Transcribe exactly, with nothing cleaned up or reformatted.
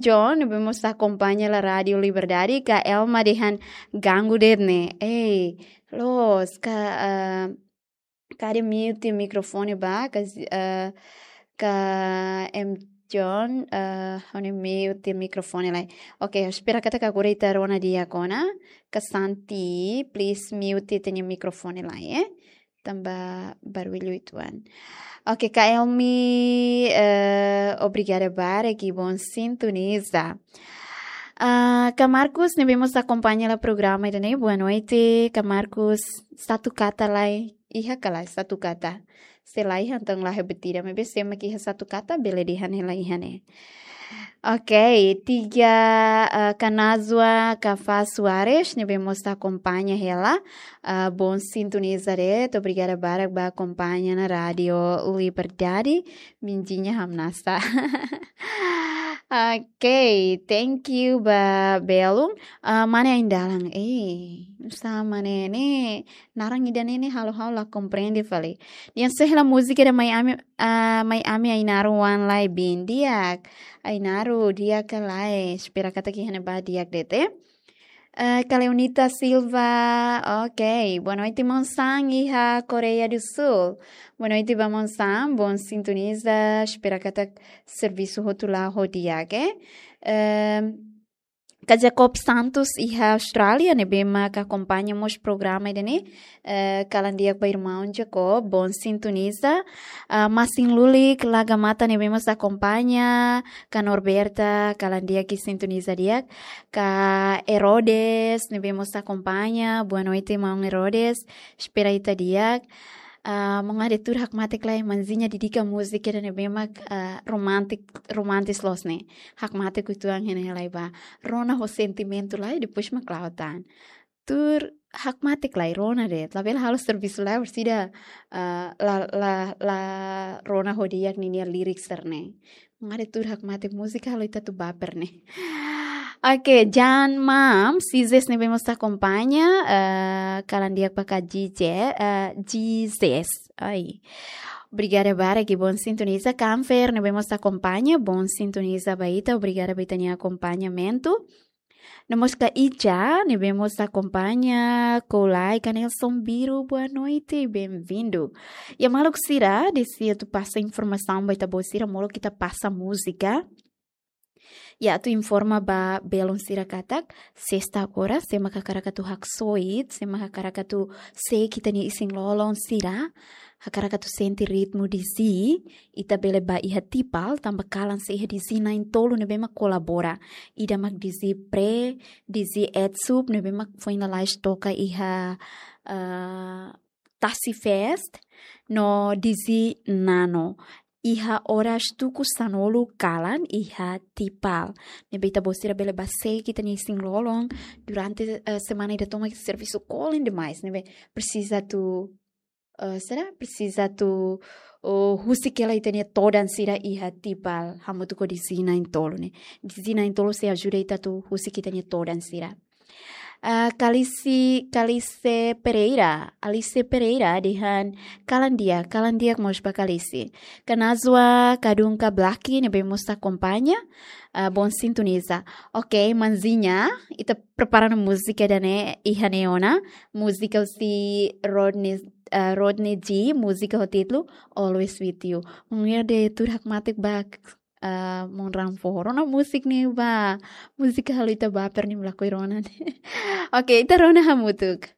John, ne'ebé mós akompaña hela Rádio Liberdade, ka Elma dehan ganggu de'it ne'e. Ei, loos, ka, ah, kade mute mikrofone ba, ka, ah, ka M John, ah, ha'u-nia mute mikrofone lai. Oke, espera katak agora ita rona di'ak ona. Ka Santi, please mute ita-nia mikrofone lai, eh. Tanba barullu uitoan. Oke, Kak Elmi, eh, obrigada barak, i bom sintoniza. Ah, Kak Marcos, ne'ebé mós akompaña hela programa ida-ne'e, boa noite, Kak Marcos, satu kata lai, iha ka lae, satu kata. Se laiha entaun la iha buat ida, maibé se ema ke iha satu kata, bele dehan hela iha ne'e. Oke, tiga, eh, Kak Nazwa, Kak Fa Soares, ne'ebé mós akompaña hela, eh, bom sintoniza de'it, obrigada barak ba akompaña ona Rádio Liberdade, mindinha hamnasa. Oke, thank you ba belun. Eh, mane ain dalan, eh, sama ne'e, ne'e, naran ida-ne'e ne'e halo ha'u la komprende fali. Dehan se hela múzika ida Mai Ami, ah, Mai Ami Ainaro oan lai, bin di'ak. Ainaro di'ak ka lae, espera katak iha ne'ebá di'ak de'it, eh. Eh, Kaleonita Silva, oke. Boa noite, maun Sam, iha Koreia do Sul. Boa noite ba maun Sam, bom sintoniza, espera katak servisu hotu la'o ho di'ak, eh. Ehm, Kak Jacob Santos iha Austrália, ne'ebé mak akompaña mós programa ida-ne'e. Eh, kalan di'ak ba irmaun Jacob, bom sintoniza. Ah, Masin Lulik, Laga Mata, ne'ebé mós akompaña. Kak Norberta, kalan di'ak i sintoniza di'ak. Kak Herodes, ne'ebé mós akompaña. Boa noite, maun Herodes. Espera ita di'ak. Ah, maun Ade, tuur hakmatek lai, manzinha dedika múzika ida ne'ebé mak, ah, romantik, romantis loos ne'e. Hakmatek uitoan iha ne'e lai ba. Rona ho sentimentu lai, depois mak la'o tan. Tuur hakmatek lai, rona de'it. Labele halo servisu lai, orsida, ah, la, la, la rona ho di'ak ninia lirik sira-ne'e. Maun Ade, tuur hakmatek múzika halo ita atu baper ne'e. Oke, Jan Mam, Sizes ne'ebé mós akompaña, eh, kalan di'ak ba Kak Jije, eh, Jizes. Ai. Obrigada barak i bom sintoniza. Kanfer ne'ebé mós akompaña, bom sintoniza ba ita, obrigada ba ita-nia akompañamentu. No mós Kak Ica, ne'ebé mós akompaña, Kolai, Kak Nelson Biru, boa noite, bem-vindo. Iha maluk sira, dehan atu pasa informasaun ba ita-boot sira, molok ita pasa múzika. I atu informa ba belun sira katak, sesta agora, se ema hakarak atu haksoit, se ema hakarak atu seik ita-nia isin-lolon sira, hakarak atu sente ritmu Dizzy, ita bele bá iha Tipal, tanba kalan sei iha Dizzy na'in-tolu ne'ebé mak kolabora. Ida mak Dizzy Pre, Dizzy Etsup, ne'ebé mak foin lalais toka iha, eh, Tasi Fest, no Dizzy Nano. Iha oras tuku sanulu kalan iha Tipal. Ne'ebé ita-boot sira bele bá seik ita-nia isin-lolon durante, eh, semana ida tomak servisu kolen demais. Ne'ebé presiza atu, eh, será? Presiza atu, oh, husik hela ita-nia todan sira iha Tipal. Hamutuk ho Dizzy na'in-tolu ne'e. Dizzy na'in-tolu sei ajuda ita atu husik ita-nia todan sira. Ah, Kalisi, Kalise Pereira, Alice Pereira, dehan kalan di'ak, kalan di'ak mós ba Kalisi. Kak Nazwa, Kadun Kablaki, ne'ebé mós akompaña, ah, bom sintoniza. Oke, manzinha, ita prepara ona múzika ida-ne'e, iha ne'e ona, múzika husi Rodney, ah, Rodney G, múzika ho títulu Always With You. Maun Ade, tuur hakmatek ba, ah, maun Ranfo. Rona múzika ne'e ba. Múzika halo ita baper ne'e, lakohi rona ne'e. Oke, ita rona hamutuk.